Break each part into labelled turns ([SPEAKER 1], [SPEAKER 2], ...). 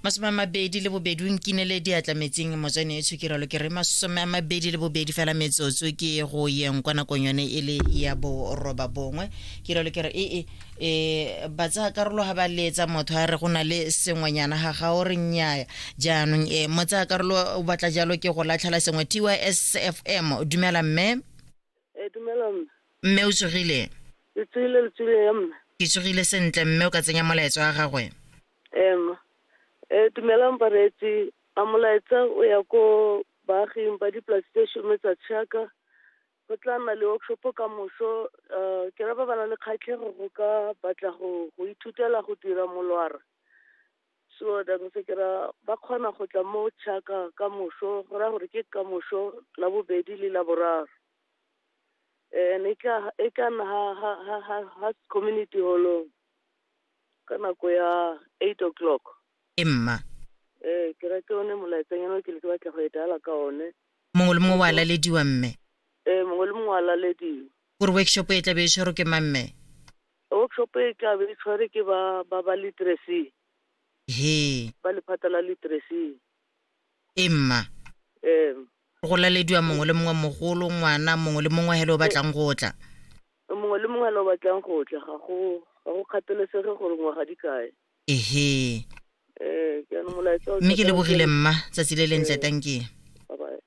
[SPEAKER 1] 22 o nkinele diatla metsing motswane e tshukiralo ke re 22 fela metsotso ke go yeng kwa nakong yone e le ya boroba bongwe. Ke ralo ke re ee e ba tsaya karolo ga ba letsa motho a re go na le sengwenyana ga ga o re nnyaya. Jaanong e mo tsaya karolo o batla jalo ke go latlhela sengwe. TYSFM, dumela mme.
[SPEAKER 2] E dumela mme.
[SPEAKER 1] Mme o tsogile?
[SPEAKER 2] Le tsogile, le tsogile ya mme.
[SPEAKER 1] Ke tsogile sentle mme, o ka tsenya molaetsa wa gagwe.
[SPEAKER 2] Ema. E dumelang bareetsi, a molaetsa o ya ko baaging ba dipolasi tse 10 tsa Tšhaka. Go tla nna le workshop ka moso, ke ra ba ba nang le kgatlhego go ka batla go ithutela go dira molwara. So that se ke ra ba kgona go tla mo Tšhaka ka moso, go raya gore ke ka moso la bobedi le la boraro. And e tla nna ha community hall ka nako ya 8 o'clock.
[SPEAKER 1] E mma.
[SPEAKER 2] Ke ra ke one molaetsanyana o ke le ke batla go e dala ka one.
[SPEAKER 1] Mongwe le mongwe wa lalediwa mme?
[SPEAKER 2] Mongwe le mongwe wa lalediwa.
[SPEAKER 1] Gore workshop e tla be e tshwerwe ke mang mme?
[SPEAKER 2] Workshop e tla be e tshwerwe ke ba literacy.
[SPEAKER 1] He.
[SPEAKER 2] Ba lephata la literacy.
[SPEAKER 1] E mma. Go lalediwa mongwe le mongwe, mogolo, ngwana, mongwe le mongwe hele o batlang go tla.
[SPEAKER 2] Mongwe le mongwe hele o batlang go tla, ga go kgathalesege gore ngwaga di kae.
[SPEAKER 1] Ehe.
[SPEAKER 2] Ke ano molaetsa o
[SPEAKER 1] Mme ke
[SPEAKER 2] tla
[SPEAKER 1] lebogile mma, tsatsi le lentle, tankie.
[SPEAKER 2] Bye bye.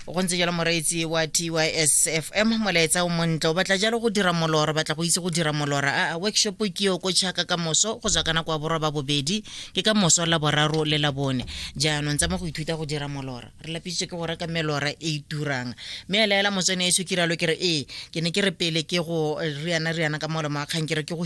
[SPEAKER 1] Go ntse jalo moreetsi wa TYSFM, molaetsa o montle. O batla jalo go dira molora, batla go itse go dira molora. A workshop ke yo ko Tšhaka ka moso go tswa ka nako ya boroba bobedi, ke ka moso la boraro le la bone. Jaanong tsa mo go ithuta go dira molora. Re lapisitswe ke go reka melora e e turang. Mme a laela motswane e ke rialo ke re ee, ke ne ke re pele ke go riana riana ka molomo wa kgang ke re ke go